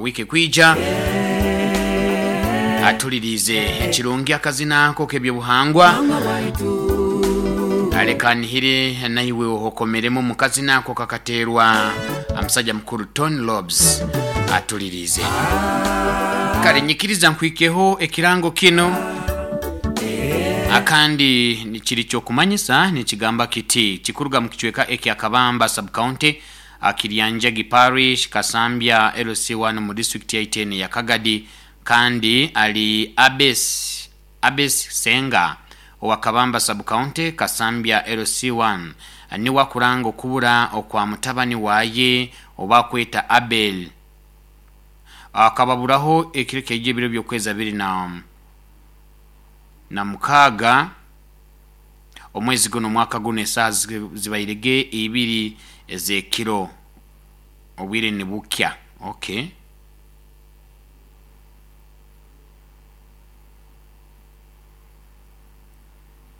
Wiiki ekwija atuliriize ekirungi akazina ako k'ebyobuhangwa. Leka nihire naiwe okomeremu mu kazina ako kakateerwa omusajja mukuru Tony Lobes atuliriize. Kale nyikiriza nkwikeho ekirango kinu akandi kiri ky'okumanyisa nikigamba kiti kikuruga mu kicweka ekya Kabamba sub-county Kiryanjagi Parish, Kasambya LC1 mu disitulikiti yaitu eno eya Kagadi kandi ali Abes Abes Ssenga owa Kabamba Sub-County, Kasambya LC1 niwe akuranga okubura okwa mutabani waaye oba akweta Abel akababuraho ekiro kyaija ebiro by'okwezi abiri na na mukaaga omwezi guno omwaka guno esaaha zibaire ge ibiri ez'ekiro obwire nibukya. Okay.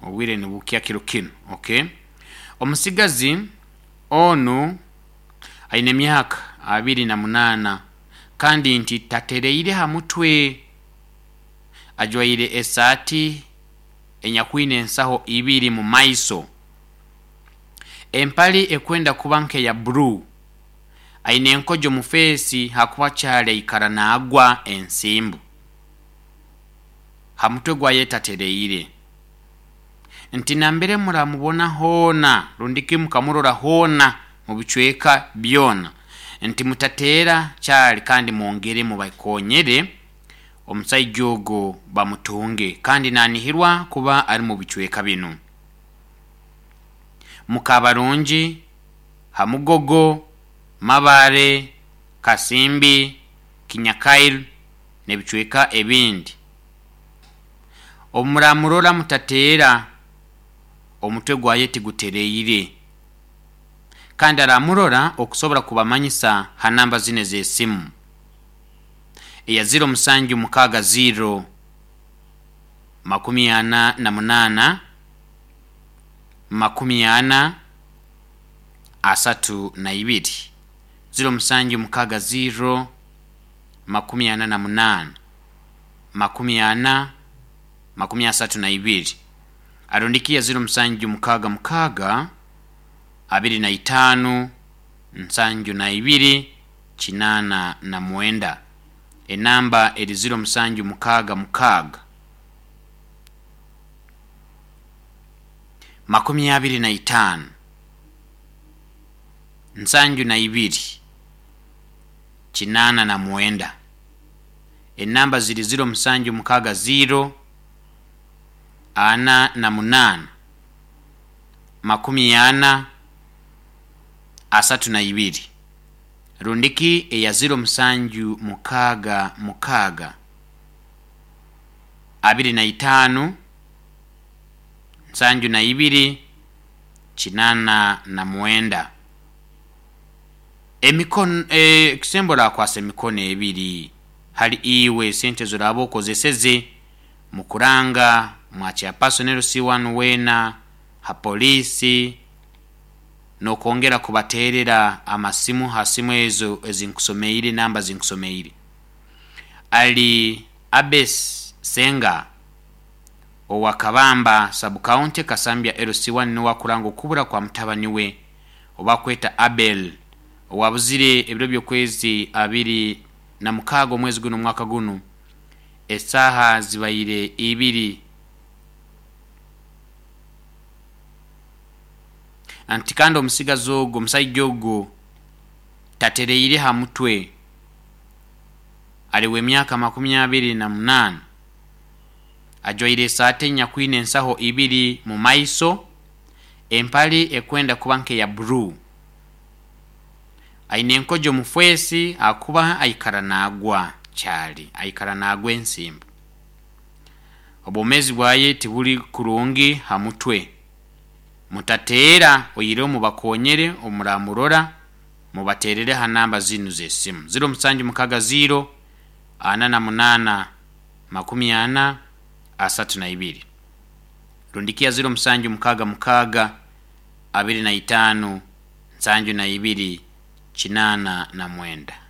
Obwire nibukya kiro kinu. Okay. Omusigazi onu aine emyaka 28 kandi nti tatereire ha mutwe. Ajwaire esaati enyakwine ensaho ibiri mu maiso, empali ekwenda kuba nk'eya buru. Aine enkojo mu feesi hakuba kyali aikara naagwa ensimbu. Ha mutwe gwaye tatereire. Nti nambere muramubona hoona rundiki mukamurora hoona mu bicweka byona, nti mutateera kyali kandi mwongere mubakonyere omusaija ogu bamutunge kandi nanihirwa kuba ari mu bicweka binu. Mukabarungi, Hamugogo, Mabare, Kasimbi, Kinyakail n'ebicweka ebindi. Obu muramurora mutateera, omutwe gwaye tigutereire. Kandi aramurora okusobora kubamanyisa ha namba zinu ez'esimu eya 0760 48 40 32, 0760 48 40 32, arundikiya 0766 25 72 89. Enamba eri 0766 25 72 89. Enamba ziri 0760 48 40 32 rundiki eya 0766 25 72 89. Emikono ekisembo orakwasa emikono ebiri hali iwe sente ezoraba okozeseze mu kuranga mwa chairperson LC1 weena ha poliisi n'okwongera kubateerera amasimu ha simu ezo ezinkusomeire namba zinkusomeire. Ali Abes Ssenga owa Kabamba Sub-county Kasambya LC1 niwe akuranga okubura kwa mutabani we obakweta Abel owabuzire ebiro by'okwezi 26 omwezi gunu omwaka gunu esaaha zibaire ibiri. Anti kandi omusigazi ogu, omusaija ogu tatereire ha mutwe, ali w'emyaka 28, ajwaire esaati enyakwine ensaho ibiri mu maiso, empali ekwenda kuba nk'eya buru. Aine enkojo omu feesi ahakuba aikara naagwa kyali, aikara naagwa ensimbu. Obwomeezi bwaye tiburi kurungi ha mutwe. Mutateera oihireho mubakonyere obu muramurora mubateerere ha namba zinu z'esimu, 0760 48 40 32 rundi ya 0766 25 72 89.